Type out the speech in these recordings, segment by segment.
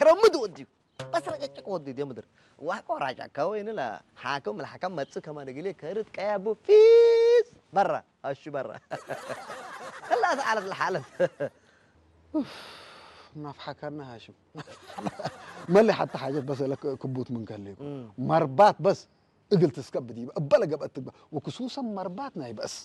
ረምድ ወዲዩ በስረጨጭቅ ወዲዩ ዲዮ ምድር ዋቆ ራጫካ ወይንላ ሓከም ለሓከም መጽእ ከማን እግሌ ከርት ቀያቡ ፊስ በራ ኣሹ በራ እላ ተዓለት ለሓለት ናፍሓካና ሃሽም መለይ ሓታ ሓጀት በሰለ ክቡት ምን ከልዩ መርባት በስ እግል ትስከብ ዲበ እበለ ገብአት ትግበ ወክሱሰን መርባት ናይ በእስ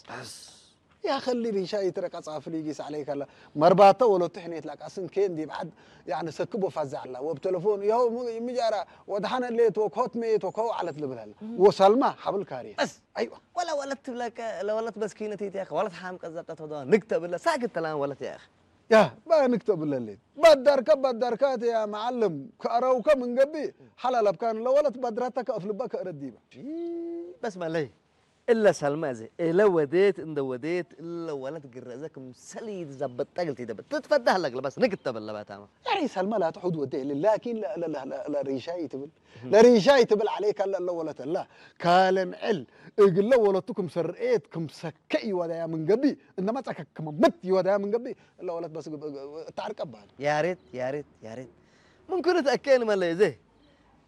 ያኸሊ ሪሻ ይትረቃ ጻፍሊ ጊስ عليك الله መርባተ ወለቱ ሕኔት ላቃስን ኬን ዲብ ዓድ يعني ሰክቦ ፋዛ ኣላ ወብ ቴሌፎን ያው ምጃራ ወድሓነ ሌት ወኮት ሜት ወከው ዓለት ልብል ኣላ ወሳልማ ሓብል ካሪ እስ ኣይዋ ወላ ወለት ትብለከ ለወለት በስኪነት ይትያኸ ወለት ሓም ቀዘቀት ወደ ንግተ ብለ ሳግት ተላን ወለት ያኸ ያ ባንክ ተብለሌት ባዳርካ ባዳርካ ያ መዓልም ከአረውከ ምንገቢ ሓላላብካን ለወለት ባድራታ ከአፍልባ ከእረዲባ በስ መለይ እለ ሰልማ እዚ እለ ወዴት እንደ ወዴት እለ ወለት ግረዘ ክምሰል ይዘበጠ ግልት ይደበ ትትፈዳህ ለግለ በስ ንግት ተበለባታማ ያሪ ሰልማ ላ ትሑድ ወደ የለ ላኪን ለሪሻይ ትብል ለሪሻይ ትብል عليك አለ እለ ወለት አላ ካልምዕል እግለ ወለቱ ክምሰ ርኤት ክምሰከ ይወዳያ ምንገቢ እንደማ ጸከ ክመምት ይወዳያ ምንገቢ ለወለት በስ እታዕርቀባል። ያሬት ያሬት ያሬት ምንኩን ተአከን መለ ዘ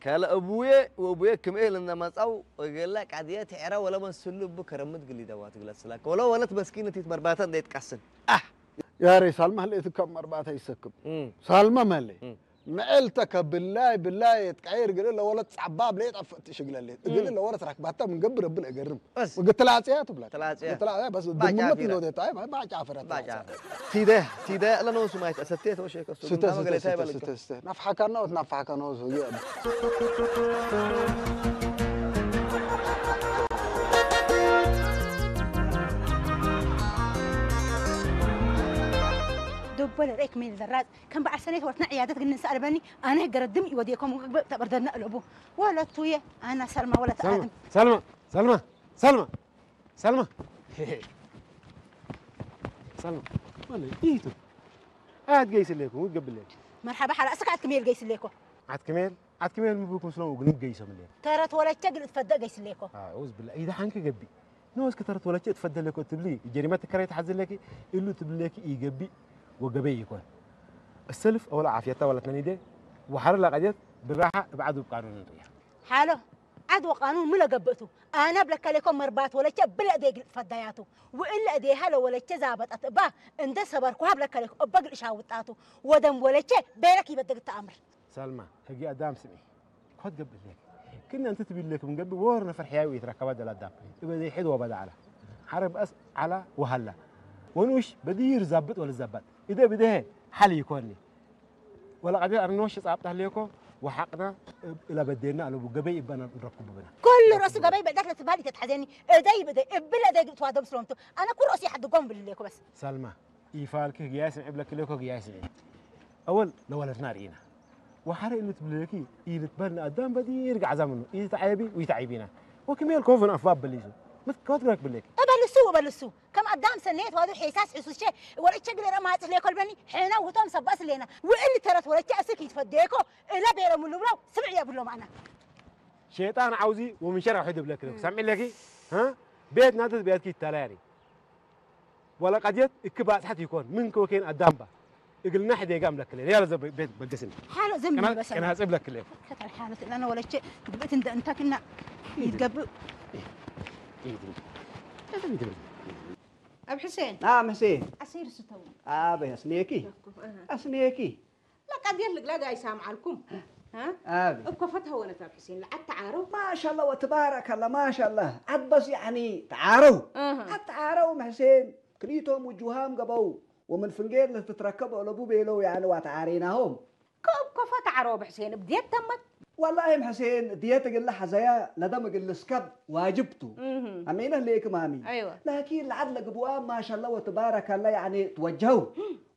ከለ እቡየ ወቡየ ክምኤ ለናማጻው ወገላ ቃድየ ትዕራ ወለ መስሉ እቡ ከረምት ግሊ ደዋት ግለት ስላከ ወለ ወለት መስኪነት ይትመርባታ እንደ ይትቃስን አህ ያሬ ሳልማ ህልእት ከም መርባታ ይሰክም ሳልማ መለ ምዕልተከ ብላይ ብላይ የትቀይር እግል ለወለት ጻባብ ለየጠፍእ ትሽግለሌት እግል ለወለት ራክባታ ምን ገብር እብል እገርም እግል ትላጽያ ትብላ ትላጽያ በስ ድምመት ነው ታይ ባጫ ፍረት ባጫ ቲደ ቲደ ለነውሱ ማይት አሰቴት ወሸከ ስተ ስተ ስተ ናፍሓካና ወትናፍሓካና ወሱ ዶቦለ ሬክ ሜል ዘራጽ ከም በዓል ሰኔት ወርትና ዕያደት ግን ንሰኣልበኒ ኣነ ገረድም ይወዲየኮም ተበርደድና እለቡ ወለቱየ ኣና ሰልማ ወለት ኣድም ሰልማ ሰልማ ሰልማ ሰልማ ሰልማ ማለት ይቱ ኣት ገይስሌኩም ውትገብሌ መርሓባ ሓላ እስካ ኣትክሜል ገይስሌኮ ኣትክሜል ኣትክሜል ምብኩ ስለው ግን ገይሰምሌ ተረት ወለቸ ግልጽ ፈደ ገይስሌኮ ኣውዝ ብላ ኢዳ ሓንከ ገቢ ንወስኪ ተረት ወለቼ እትፈደለኮ ትብሊ ጀሪማ ትከራይ ተሓዝለኪ እሉ ትብለኪ ይገቢ ወገበይ ይኮን እሰልፍ ወላ ዓፍየታ ወላ ተነኒደ ወሓረ ላቀጀት ብራሓ እብዓድ ውብ ቃኑን ንርያ ሓሎ ዓድ ወቃኑን ምለ ገብእቱ ኣነ ብለከሌኮ መርባት ወለቼ ብለ እዴ ግልጥ ፈዳያቱ ውእለ እዴሃ ለወለቼ ዛበጣት እባ እንደ ሰበርኩሃ ብለከሌኮ እበ ግልሻ ውጣቱ ወደም ወለቼ ቤለክ ይበደግ ተኣምር ሰልማ ህጊ ኣዳም ስሚ ኮት ገብእ ሌክ ክነ እንት ትብል ሌክ ምንገብእ ወር ነፈር ሕያዊ ይትረከባ ደላ ኣዳም እበ ዘይሕድ ወበዳ ዓላ ሓረ በእስ ዓላ ወሃላ ወንኡሽ በድይር ዛብጥ ወልዛባጥ እደ ብደሀ ሓል ይኮኒ ወላ ቀዲር ኣርኖሽ ጻብጣ ሌኮ ወሓቅና እላ በዴና ኣለቡ ገበይ እባና ንረኩ ብብና ኩሉ ርእሱ ገበይ በዳክ ለትባል ይተትሓዘኒ እደይ ብደይ እብል እደይ ግጥዋ ደም ስለምቱ ኣነ ኩሉ ርእሱ ይሓድጎም ብል ሌኮ በስ ሰልማ ኢፋልኪ ህግያይ ስምዒ ብለኪ ለኮ ህግያይ ስምዒ። ኣወል ለወለድና ርኢና። ወሓረ እልትብለኪ ኢልትበል ንኣዳም በዲር ጋዕዛ ምኑ ኢልትዓየቢ ውይትዓይቢና። ወክሜል ኮፍን ኣፍባብ በሊሱ። ምትከወት ግረክ ብለኪ። እበልሱ እበልሱ። ከም ኣዳም ሰነየት ዋዱ ሒሳስ ሕሱሸ ወለቸ ግለረ ማጽፍ ለኮልበኒ ሐና ውቶም ሰባስ ሌና። ውእል ተረት ወለቸ እስክ ይትፈደየኮ እለ ቤረ ምሉ ብለው ስምዕ የብሎም ኣና። ሸይጣን ዓውዚ ወምንሸር ኣውሒድ ብለኪ ለኩ። ሰምዒ ለኪ? ሀ? ቤት ናተት ቤትኪ ይታላያኒ። ወላ ቀድየት እክ ባጽሐት ይኮን ምን ከወኬን ኣዳምባ እግልና ሕዴጋ እምለክለ ያለ ዘ ቤት በገስን ሓሎ ዝም ቀና- በሰ ቀናጽ እብለክለ ከተል ሓሎ ትላነ ወለቼ ግብእት እንደ እንታክና ይትገብእ ኣብ ሕሴን ናም ሕሴን ኣሲር ስተው ኣበይ ኣስኔኪ ኣስኔኪ ለቀድየት ልግለግ ኣይሳምዓልኩም። እ? ኣቢ። እኮ ፈትሀ ወለት ኣብ ሕሴን ለዓድ ተዓረው። ማሻላ ወትባረከላ ማሻላ ዓድ በስ ያኒ ተዓረው። እህ። ዓድ ተዓረው መሕሴን ክሊቶም ውጁሃም ገበው ወምን ፍንጌር ለትትረከብ ኦለቡ ቤለው ያኒ ዋተዓሬናሆም። ከእብ ኮፈ ተዓረው ብሕሴን እብድየት ተመት። ወላሂ ምሕሴን ድየት እግል ሐዘያ ለደም እግል ልስከብ ዋጅብ ቱ። እህ። አሜነ ሌክ ማሚ። አይዋ። ላኪን ለዓድ ለግብዋ ማሻላ ወትባረከላ ያኒ ትወጀው።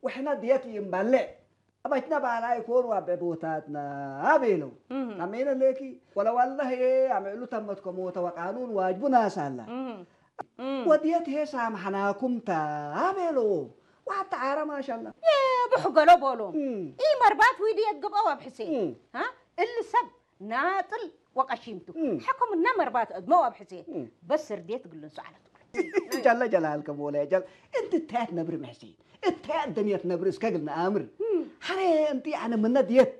ወሕና ድየት ይንባልዕ። አባችና ባላ ይኮን ዋበ ቦታትና ቤለው። አሜነ ሌኪ ወለዋላህ አምዕሉ ተመትከሞ ተወቃኑን ዋጅቡ ናሳላ። ወድየት ሄ ሳምሐናኩም ታ ቤለው። ዋታ ዓረ ማሻላ። የብሑ ገሎ ቦሎም። ኢ መርባት ዊዲ የግብኦ ኣብ ሕሴ። እ? እሊ ሰብ ናጥል ወቀሺምቱ። ሐከምና መርባት እድመው ኣብ ሕሴ። በስ ስርዴት ግልን ሰዓለት። ጀለ ጀላልከ ሞላ ጀል እንቲ ታያት ነብሪ መሕሲ እታያት ደንየት ነብሪ እስከ ግልና ኣምር ሓረ እንቲ ኣነ ምነ ድየት